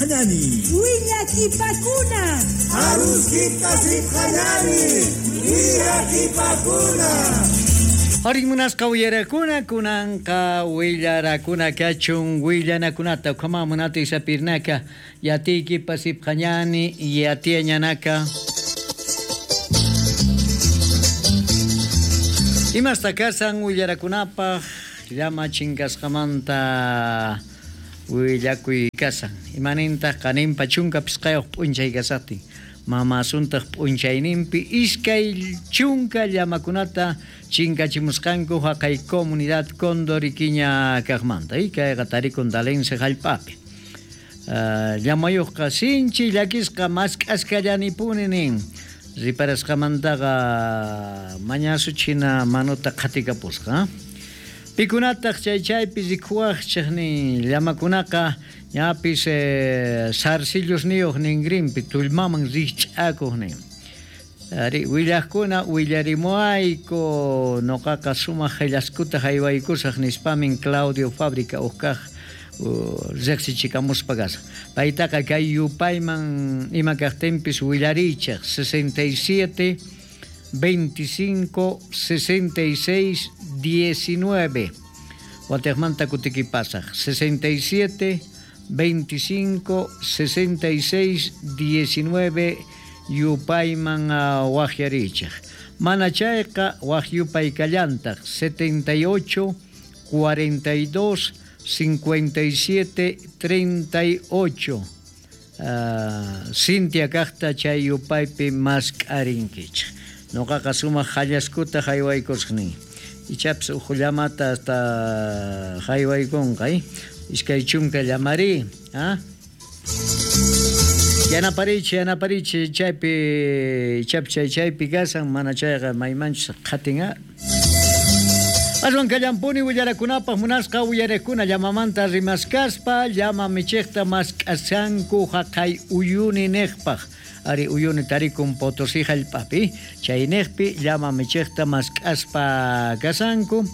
sipqañani. Willakipakuna. Aruskita sipqañani. Willakipakuna. Arin munasqa uyarakuna kunanqa willarakuna kachun willanakunata uqhaman munata isapirnaka yatiykipa sipqañani yatiañanaka. Imasta kasan willarakunapaq llama chinkasqamanta willakuy kasan. Imanintaq qaninpa 15 p'unchay kasaqtin. Mama asuntaq p'unchayninpi 20 llamakunata chinkachimusqanku haqay comunidad Condoriquiña kaqmanta. Y kayqa tarikun Dalense hallp'api. Llamayuqqa sinchi llakisqa mask'askallanipuni nin. Riparasqamantaqa mañasuchina manuta qhatikapusqa. Pikunataq chay chaypi rikuwaqchik nin llamakunaqa ñapis sarcillosniyuq ningrinpi tullmaman rikch'akuq nin. Ari willaqkuna willarimuayku noqaqa sumaq qillaskuta haywaykusaq nispamin Claudio Fábrica uqkaq riqsichikamuspa kasaq. Paytaqa kay yupayman ima kaqtinpis willarichaq 67 25 66 19. Watejmanta kutikipasaq 67 25 66 19 yupayman waqyarichaq. Mana chayqa waq yupay kallantaq 78 42 57 38. Cintia kaqta chay yupaypi mask'arinkichaq. Noqaqa sumaq hallaskuta haywaykusaq nin. Ichapis uj llamata hasta haywaykunqa, 20 llamari, ¿ah? Yanaparichi, yanaparichi, chaypi, ichapis chay chaypi kasan, mana chayqa maymanchus qhatin, Aswan kallampuni willarakunapaq munasqa uyarekuna llamamanta rimaskaspa, llama michiqta mask'asanku haqay uyuni niqpaq. Ari uyuni tarikun Potosí hallp'api, chay niqpi llama michiqta mask'aspa kasanku.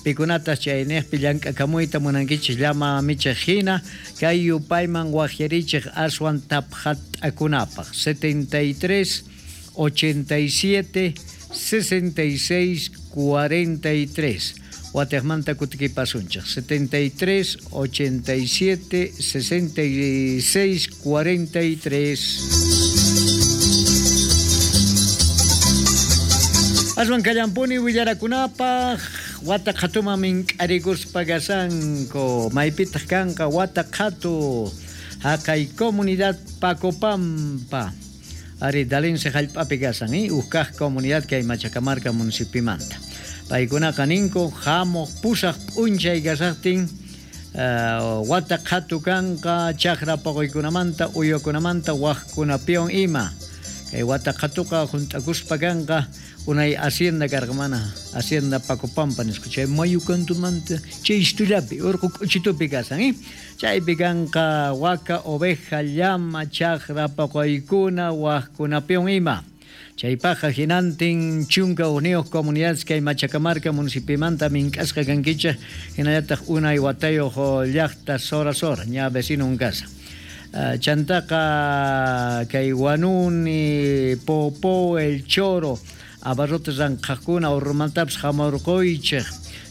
Pikunatas chay niqpi llank'akamuyta munankichik llama michiq hina, kay yupayman waqyarichik aswan taphat'akunapaq. 73 87 66 43. Watejmanta kutikipasunchik. 73 87 66 43. Aswan kallampuni willarakunapaq wata qhatuma mink'arikuspa kasanku. Maypitaq kanqa wata qhatu haqay comunidad Pacopampa. Ari Dalense hallp'api kasan, uqkaq comunidad kay Machacamarca municipimanta. Paykunaqa ninku hamuq pusaq p'unchay kasaqtin wata qhatu kanqa chakra paquykunamanta uywakunamanta waqkunapiwan ima. Kay wata qhatuqa hunt'akuspa kanqa unay hacienda karqa mana hacienda Pacopampa nisqa chay mayu kantumanta chay istullapi urqu k'uchitupi kasan, Chaypi kanqa waka, oveja, llama, chakra paqaykuna, waqkunapiwan ima. Chaypaqqa hinantin 11 comunidades kay Machacamarca municipimanta mink'asqa kankichik hinallataq unay watayuq llaqta sora sora ña vecino casa. Chantaqa kay Guanuni, Popó, El Choro, abarrotes ranqhaqkuna urrumantapis hamurquychik.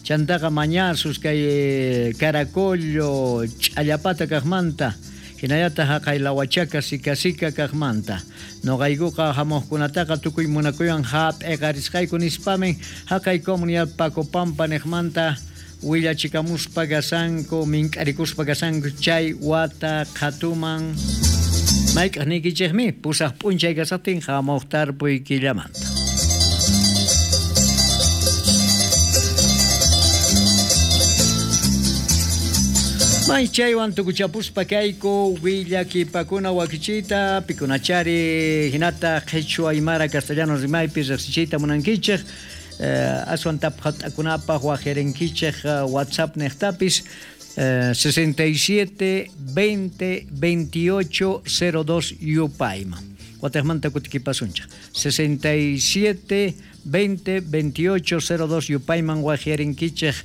Chantaqa mañasus kay Caracollo, Ch'allapata kaqmanta, hinallataq haqay Lawachaka, Sikasika kaqmanta. Noqaykuqa hamuqkunataqa tukuy munakuywan hap'iqarisqayku nispamin haqay comunidad Pacopampa niqmanta willachikamuspa kasanku, mink'arikuspa kasanku chay wata qhatuman. Mayk'aq niykichikmi pusaq p'unchay kasaqtin hamuq tarpuy killamanta. May chaywan tukuchapuspa kayku willakipakuna wakichita pikunachari hinata qhichwa aymara castellano rimaypi riqsichiyta munankichik. Aswan taphat'akunapaq waqyarinkichik WhatsApp niqtapis 67 20 28 02 yupayman. Watejmanta kutikipasunchik. 67 20 28 02 yupayman waqyarinkichik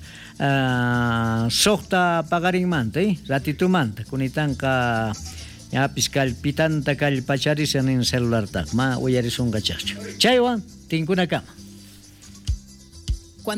suqta paqarinmanta, ratitumanta kunitanqa Ñapis kallpitanta kallpacharishan nin celulartaqa, ma uyarisonqachejchu. Chaywan tinkunakama.